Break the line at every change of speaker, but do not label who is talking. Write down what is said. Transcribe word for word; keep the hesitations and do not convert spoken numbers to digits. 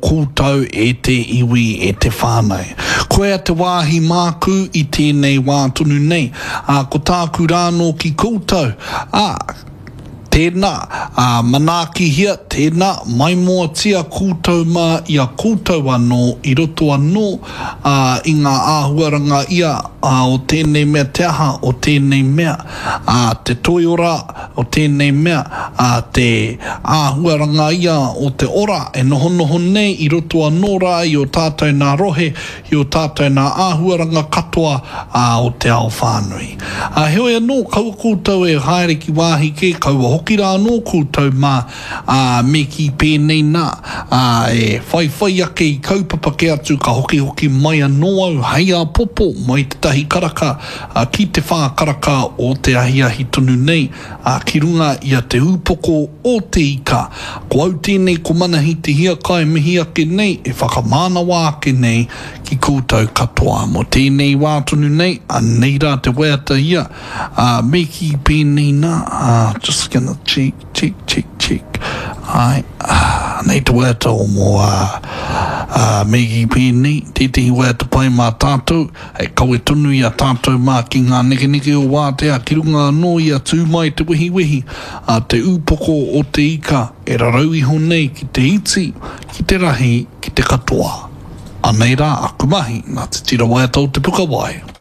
Koutou e te iwi, e te whānau. Koia te wāhi māku i tēnei wā tonu nei, ā, ko tāku rānō ki koutou, ā, tēnā, ā, manaakihia, tēnā, maimoatia koutou mā i a koutou anō, i roto anō, ā, i ngā āhuaranga ia, ā, o tēnei mea te aha, o tēnei mea, ā, te toiora o tēnei mea, ā, te āhuaranga ia o te ora e nohonoho nei i roto anō rā i ō tātou nā rohe, i ō tātou nā āhuaranga katoa, ā, o te ao whānui. Ā, heoi anō, kaua koutou e haere ki wāhi kē, kaua hoki rā anō koutou mā, ā, me kī pēnei nā, ā, e whaiwhai ake i kaupapa kē atu ka hokihoki mai anō au hei āpōpō mai te tahi karaka, ā, ki te whā karaka o te ahiahi tonu nei, ā, ki runga i a Te Ūpoko o Te Ika. Ko au tēnei ko Manahi Te Hiakai mihi ake nei, e whakamānawa ake nei ki koutou katoa. Mō tēnei wā tonu nei, anei rā te waiata ia, ā, me kī pēnei nā, ā, just gonna check, check, check, check, āe, ā, anei te waiata o mō, ā, ā, me kī pēnei, tētehi waiata pai mā tātou, hei kawe tonu i a tātou mā ki ngā nekeneke o wātea, ki runga anō i a Tū Mai Te Wehiwehi, ā, te ūpoko o te ika e rarau iho nei ki te iti, ki te rahi, ki te katoa. Anei rā aku mahi, nā te tira waiata o Te Pukawai.